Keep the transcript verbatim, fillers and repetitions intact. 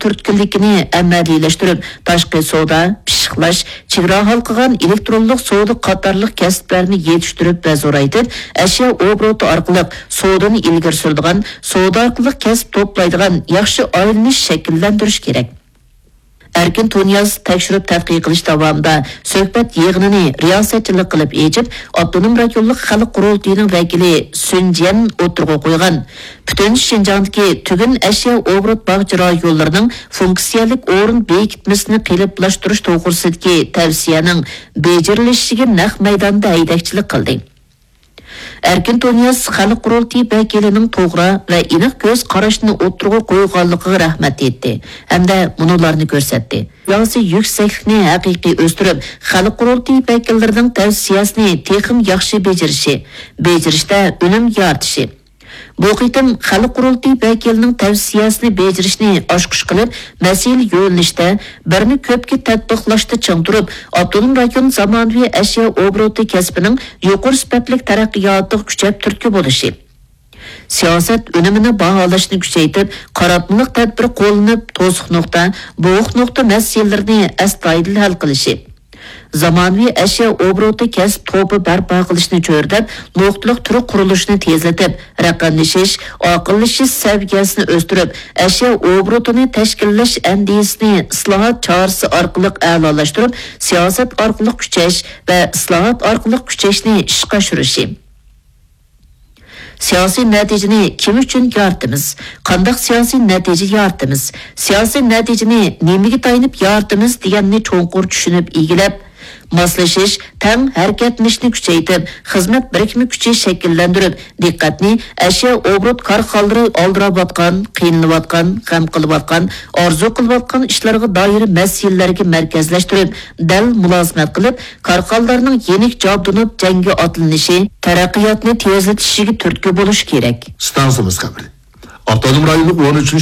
تۈرتكىلىكىنى ئەمەلىيلەشتۈرۈپ، تاشقى سودا، پىششىقلاش، چېگرا ھالقىغان ئېلېكترونلۇق سودا قاتارلىق كەسىپلەرنى يېتىشتۈرۈپ ۋە زورايتىپ، ئەشيا ئوبوروتى ئارقىلىق سودىنى ئىلگىرى سۈرىدىغان، سودا ئارقىلىق كەسىپ توپلايدىغان ياخشى ئايلىنىش شەكىللەندۈرۈش كېرەك. ئەركىن تۇنىياز تەكشۈرۈپ تەتقىق قىلىش داۋامىدا سۆھبەت يىغىنىنى رىياسەتچىلىك قىلىپ ئېچىپ، ئاپتونوم رايونلۇق خەلق قۇرۇلتىيىنىڭ ۋەكىلى سۈن جيەن ئوتتۇرىغا قويغان پۈتۈن شىنجاڭدىكى تۈگۈن ئەشيا ئوبوروت باغچە رايونلىرىنىڭ فۇنكسىيەلىك ئورۇن بېكىتمىسىنى قېلىپلاشتۇرۇش توغرىسىدىكى تەۋسىيەنىڭ بېجىرىلىشىگە نەق مەيداندا ھەيدەكچىلىك قىلدى. ئەركىن تۇنىياز خەلق قۇرۇلتىيى ۋەكىلىنىڭ توغرا ۋە ئېنىق كۆز قاراشنى ئوتتۇرىغا قويغانلىقىغا رەھمەت ئېيتتى ھەمدە مۇنۇلارنى كۆرسەتتى. سىياسىي يۈكسەكلىكنى ھەقىقىي ئۆستۈرۈپ، خەلق قۇرۇلتىيى ۋەكىللىرىنىڭ تەۋسىيەسىنى تېخىمۇ ياخشى بېجىرىشى، بېجىرىشتە ئۈنۈم يارىتىشى. بۇ قېتىم خەلق قۇرۇلتىيى ۋەكىلىنىڭ تەۋسىيەسىنى بېجىرىشنى ئاچقۇچ قىلىپ، مەسىلە يۆنىلىشتە، بىرنى كۆپكە تەتبىقلاشتا چىڭ تۇرۇپ، ئاپتونوم رايون زامانىۋى ئەشيا ئوبوروتى كەسپىنىڭ يۇقىرى سۈپەتلىك تەرەققىياتىغا كۈچەپ تۈرتكە بولۇشى، سىياسەت ئۈنۈمىنى باھالاشنى كۈچەيتىپ، قاراتمىلىق تەدبىر قوللىنىپ، توسۇق نۇقتا، بوغۇق نۇقتا مەسىلىلىرىنى ئەستايىدىل ھەل قىلىشى، زامانىۋى ئەشيا ئوبوروتى كەسىپ توپى بەرپا قىلىشنى چۆرىدەپ، نۇقتىلىق تۈر قۇرۇلۇشىنى تېزلىتىپ، رەقەملىشىش، ئاقىللىشىش سەۋىيەسىنى ئۆستۈرۈپ، ئەشيا ئوبوروتىنى تەشكىللەش ئەندىزىسىنى ئىسلاھات چارىسى ئارقىلىق ئەلالاشتۇرۇپ، سىياسەت ئارقىلىق كۈچەش ۋە ئىسلاھات ئارقىلىق كۈچەشنى ئىشقا ئاشۇرۇشى. سىياسىي نەتىجىنى كىم ئۈچۈن يارىتىمىز؟ قانداق سىياسىي نەتىجە يارىتىمىز؟ سىياسىي نەتىجىنى نېمىگە تايىنىپ يارىتىمىز دېگەننى چوڭقۇر چۈشىنىپ ئىگىلەپ، ماسلىشىش، تەڭ ھەرىكەتلىنىشنى كۈچەيتىپ، خىزمەت بىرىكمە كۈچى شەكىللەندۈرۈپ، دىققەتنى ئەشيا ئوبوروت كارخانىلىرى ئالدىراۋاتقان، قىينىلىۋاتقان، غەم قىلىۋاتقان، ئارزۇ قىلىۋاتقان ئىشلارغا دائىر مەسىلىلەرگە مەركەزلەشتۈرۈپ، دەل مۇلازىمەت قىلىپ، كارخانىلارنىڭ يېنىك جابدۇنۇپ جەڭگە ئاتلىنىشى، تەرەققىياتنى تېزلىتىشىگە تۈرتكە بولۇش كېرەك. ئىستانسىمىز خەۋىرى. ئاپتونوم رايونلۇق ئون ئۈچىنچى